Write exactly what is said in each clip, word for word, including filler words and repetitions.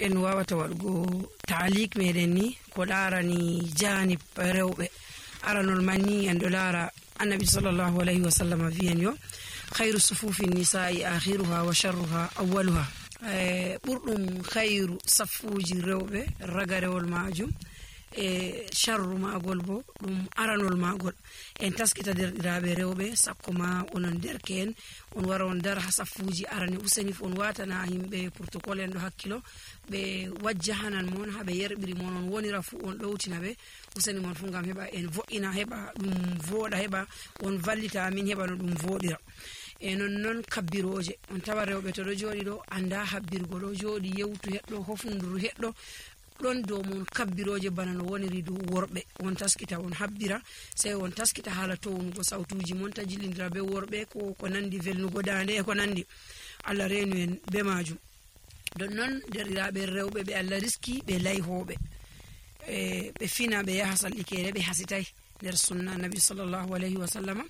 En waawata waɗgo taaliik meɗen ni ko ɗaarani jaanib rewɓe. Aranol man ni en ɗo laara Annabi sallallahu alayhi wa sallam wiyen yo: "Khayru sufufi nisa'i akhiruha wa sharruha awwaluha." Eh, ɓurɗum khayru saffuuji rewɓe ragarewol maajum e sharru maagol bo ɗum aranol maagol. En taskita derɗiraaɓe rewɓe, sakko ma onon derke'en, on wara on dara ha saffuuji arane. Useni fof on waatana yimɓe protocole en ɗo hakkilo, ɓe wajjahanan mon, ha ɓe yerɓiri mon, on wonira fof on ɗowtina ɓe. Useni mon fof ngam heɓa en vo'ina, heɓa ɗum vooɗa, heɓa on vallita amin, heɓa no ɗum vooɗira. E non non kabbirooje, on tawa rewɓe to ɗo jooɗi ɗo, annda habbirgo, ɗo jooɗi yewtu heɗɗo, hofndu heɗɗo, ɗon dow mon kabbirooje bana no woniri dow worɓe. On taskita, on habbira, sey on taskita haala townugo sawtuuji mon, ta jillindira be worɓe, ko, ko nandi velnugo daande e ko nandi. Allah reenu en be maajum. Ɗon non, derɗiraaɓe rewɓe ɓe Allah riski, ɓe layhooɓe. E, ɓe fina, ɓe yaha sallikeere, ɓe hasitay. Nder sunna Nabi sallallahu alayhi wa sallama,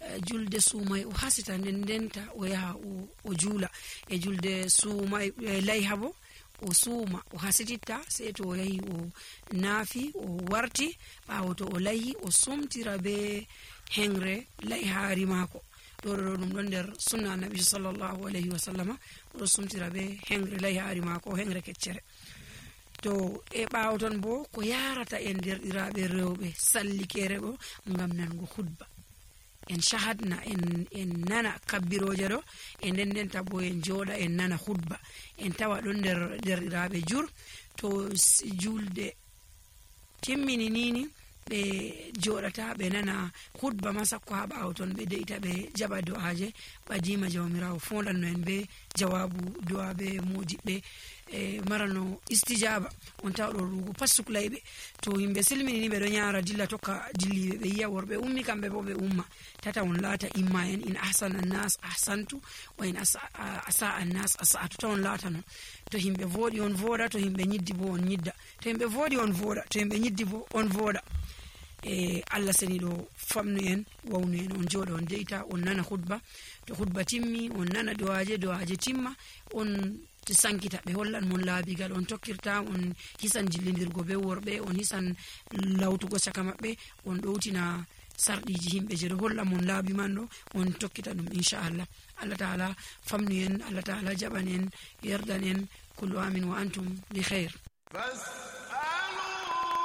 eh, julde suumay o hasita, nden ndenta o yaha o, o juula. E julde suumay, eh, layha bo, o suuma, o hasititta, sey to o yahi o naafi, o warti, ɓaawo to o layhi, o sumtira be hengre layhaari maako. Ɗo, ɗo, ɗo, ɗum ɗon nder sunna Nabi sallallahu alayhi wa sallama, o ɗo sumtira be hengre layhaari maako, hengre keccere. To e ɓaawo ton bo, ko yaarata en derɗiraaɓe rewɓe sallikeere ɗo ngam nango khutba. En shahadna, en, en nana kabbirooje ɗo, e nden ndenta bo en jooɗa, en nana khutba. En tawa ɗon nder derɗiraaɓe jur, to s-, julde timmini nini, ɓe jooɗata, ɓe nana khutba ma sakko ha ɓaawo ton, ɓe de'ita, ɓe jaɓa du'aaje, ɓadiima Jawmiraawo foondanno en be jawaabu du'a be moodiɓɓe, e, marano istijaaba. On tawa ɗo ruugo pat suklayɓe. To himɓe silmini ni, ɓe ɗo nyaara dilla tokka dilliiɓe, ɓe yi'a worɓe ummi, kamɓe bo ɓe umma. Tata on laata imma en, in ahsana an-nas ahsantu, wa in asa-, a-, asa an-nas asa'tu. Ta on laata non. To himɓe vooɗi, on vooɗa, to himɓe nyiddi bo, on nyidda. To himɓe vooɗi, on vooɗa, to himɓe nyiddi bo, on vooɗa. E, Allah seniiɗo famnu en, wawnu en, on jooɗa, on de'ita, on nana khutba. To khutba timmi, on nana du'aaje, du'aaje timma, on sankita, ɓe hollan mon laabi gal on tokkirta, on hisan jillindirgo be worɓe, on hisan lawtugo caka maɓɓe, on ɗowtina sarɗiiji himɓe je ɗo holla mon laabi man ɗo, on tokkita ɗum, inchallah. Allah Ta'ala famnu en, Allah Ta'ala jaɓan en, yerdan en, kullu amin wa antum bi khair.